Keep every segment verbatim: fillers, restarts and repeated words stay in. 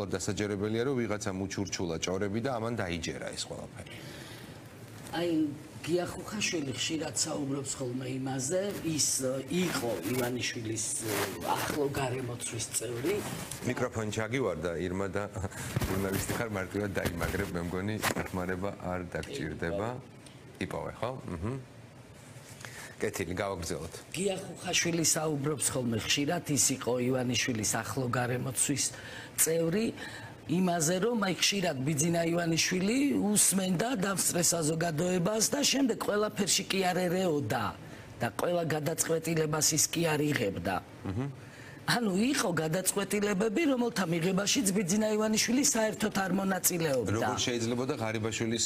დასაჯერებელია რომ ვიღაცა მუჩურჩულა ჭორები და ამან დაიჯერა ეს ყველაფერი. აი გია ხუხაშვილი ხშირად საუბრობს ხოლმე იმაზე, ის იყო ივანიშვილის ახლო გარემოცვის წევრი. მიკროფონი ჩაგივარდა ირმა და ჟურნალისტი ხარ მარტივად დაიმაგრებ, მე მგონი დახმარება არ დაგჭირდება. იპოვე, ხო? აჰა. კეთილი, გავაგრძელოთ. გია ხუხაშვილი საუბრობს ხოლმე ხშირად, ის იყო ივანიშვილის ახლო გარემოცვის წევრი. იმაზე რომ აი ხშირად ბიძინა ივანიშვილი უსმენდა დავსწრეს საზოგადოებას და შემდეგ ყველაფერში კი არ ერეოდა და ყველა გადაწყვეტილებას ის კი არ იღებდა. ანუ იყო გადაწყვეტილებები, რომელთა მიღებაშიც ბიძინა ივანიშვილი საერთოდ არ მონაწილეობდა. როგორ შეიძლება და ღარიბაშვილის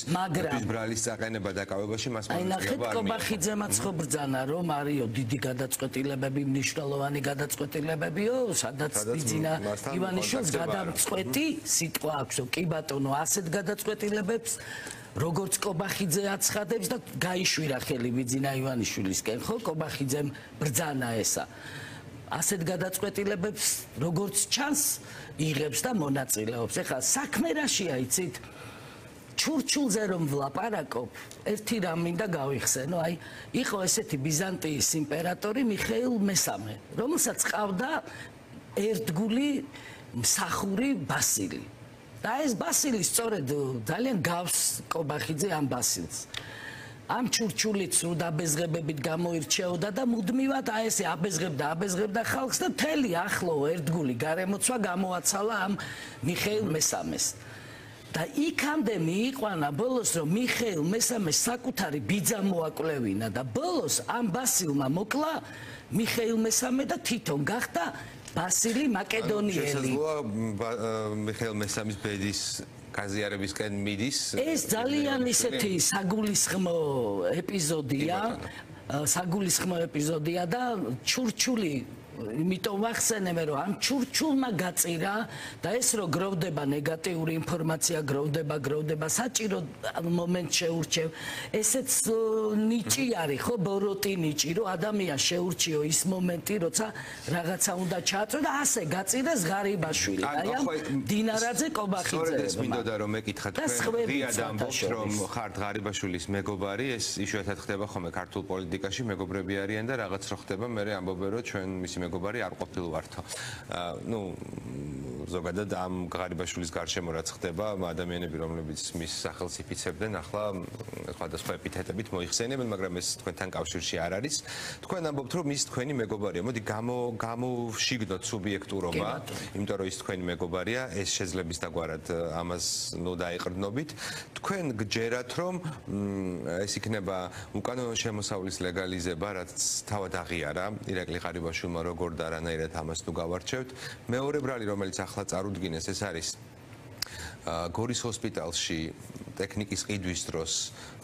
ბრალის წაყენება დაკავებაში მას აი ნახეთ კობახიძემაც ხო ბრძანა რომ არისო დიდი გადაწყვეტილებები, მნიშვნელოვანი გადაწყვეტილებებიო, სადაც ბიძინა ივანიშვილს გადამწყვეტი სიტყვა აქვს, კი ბატონო, ასეთ გადაწყვეტილებებს როგორც კობახიძე აცხადებს და გაიშვირა ხელი ბიძინა ივანიშვილისკენ, ხო, კობახიძემ ბრძანა ესა. ასეთ გადაწყვეტილებებს როგორც ჩანს იღებს და მონაწილეობს. ეხლა საქმე რაშია იცით? ჩურჩულზე რომ ვლაპარაკობ, ერთი რამ მინდა გავიხსენო, აი იყო ესეთი ბიზანტიის იმპერატორი მიხეილ მესამე, რომელსაც ყავდა ერთგული მსახური ბასილი. და ეს ბასილი სწორედ ძალიან გავს კობახიძე ამ ბასილს. ამ ჩურჩულით სულ დაბეზღებებით გამოირჩეოდა და მუდმივად აი ესე აბეზღებდა აბეზღებდა ხალხს და მთელი ახლო ერთგული გარემოცვა გამოაცალა ამ მიხეილ მესამეს. და იქამდე მიიყვანა ბოლოს რომ მიხეილ მესამეს საკუთარი ბიძა მოაკვლევინა და ბოლოს ამ ბასილმა მოკლა მიხეილ მესამე და თვითონ გახდა ბასილი მაკედონიელი. შესაძლოა მიხეილ მესამის ბედის გაზიარებისკენ მიდის. ეს ძალიან ისეთი საგულისხმო ეპიზოდია, საგულისხმო ეპიზოდია და ჩურჩული იმიტომ ვახსენებ რომ ამ ჩურჩულმა გაწირა და ეს რო გროვდება ნეგატიური ინფორმაცია, გროვდება, გროვდება, საჭირო მომენტ შეურჩევ. ესეც ნიჭი არის, ხო, ბოროტი ნიჭი, რომ ადამიანს შეურჩიო ის მომენტი, როცა რაღაცა უნდა ჩააწრო და ასე გაწირეს ღარიბაშვილი. აი ამ დინარაძე კობახიძე. სწორედ ეს მინდოდა რომ მეკითხა თქვენ რიად ამბობთ რომ ხართ ღარიბაშვილის მეგობარი, ეს იშვიათად ხდება ხოლმე ქართულ პოლიტიკაში, მეგობრები არიან და რაღაც რო ხდება, მე ამბობენ რომ ჩვენ მისი მეგობარი არ ყოფილ ვართო. ნუ ზოგადად ამ ღარიბაშვილის გარშემო რაც ხდება, ადამიანები რომლებიც მის სახელს იფიცებდნენ, ახლა სხვადასხვა ეპითეტებით მოიხსენებენ, მაგრამ ეს თქვენთან კავშირში არ არის. თქვენ ამბობთ რომ ის თქვენი მეგობარია. მოდი გამო გამოვშიგნოთ სუბიექტურობა, იმიტომ რომ ის თქვენი მეგობარია, ეს შეძლებს დაგვარად ამას ნუ დაიყრდნობით. თქვენ გჯერათ რომ ეს იქნება უკანონო შემოსავლის ლეგალიზება, რაც თავად აღიარა ირაკლი ღარიბაშვილმა როგორ და რანაირად ამას თუ გავარჩევთ. მეორე ბრალი რომელიც ახლა წარუდგინეს, ეს არის გორის ჰოსპიტალში ტექნიკის ყიდვის დროს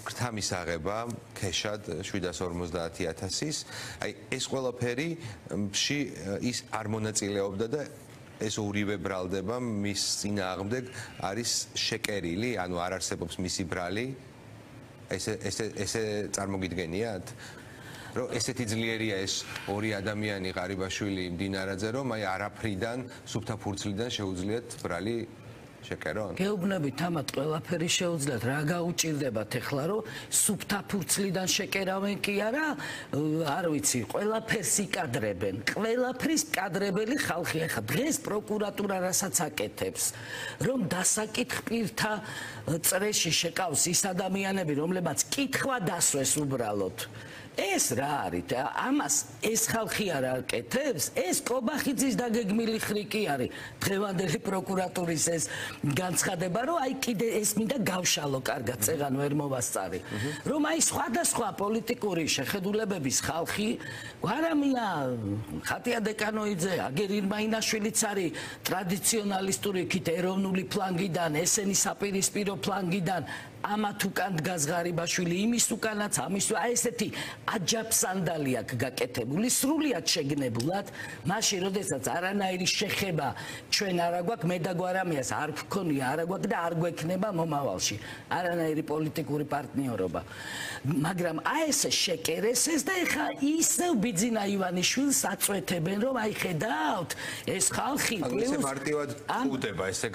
გრთა მისაღება ქეშად შვიდას ორმოცდაათი ათასის. აი ეს ყველაფერი ში ის არ მონაწილეობდა და ეს ორივე ბრალდება მის წინააღმდეგ არის შეკერილი, ანუ არ არსებობს მისი ბრალი. ესე ესე ესე წარმოგიდგენიათ? რომ ესეთი ძლიერია ეს ორი ადამიანი ღარიბაშვილი მდინარაძე რომ აი არაფრიდან სუფთა ფურცლიდან შეუძლიათ ბრალი შეკერონ? გეუბნებით ამათ ყველაფერი შეუძლიათ, რა გაუჭირდებათ ეხლა რომ სუფთა ფურცლიდან შეკერავენ კი არა, არ ვიცი, ყველაფერს იკადრებენ, ყველაფრის კადრებელი ხალხი. ეხლა დღეს პროკურატურა რასაც აკეთებს, რომ დასაკითხ პირთა წრეში შეკავს ის ადამიანები, რომლებაც კითხვა დასვეს უბრალოდ. ეს რა არის? ამას ეს ხალხი არ აკეთებს? ეს კობახიძის დაგეგმილი ხრიკი არის. დღევანდელი პროკურატურის ეს განცხადება, რომ აი კიდე ეს მინდა გავშალო, კარგად, წეღან ვერ მოვასწარი. რომ აი სხვადასხვა პოლიტიკური შეხედულებების ხალხი, გვარამია, ხატია დეკანოიძე, აგერ ირმაინაშვილიც არის ტრადიციონალისტური იქით ეროვნული ფლანგიდან, ესენი საპირისპირო ფლანგიდან ამათ უკან დგას ღარიბაშვილი, იმის უკანაც, ამის აი ესეთი აჯაფსანდალი აქვს გაკეთებული, სრულიად შეგნებულად, მაშინ როდესაც არანაირი შეხება ჩვენ არ აგვაქვს, მე და გვარამიას არ გქონია, არ აგვაქვს და არ გვექნება მომავალში არანაირი პოლიტიკური პარტნიორობა. მაგრამ აი ესე შეკერესეს და ეხა ისევ ბიძინა ივანიშვილს აწვეთებენ, რომ აი ხედავთ, ეს ხალხი პლუს მარტივად ხვდება ესე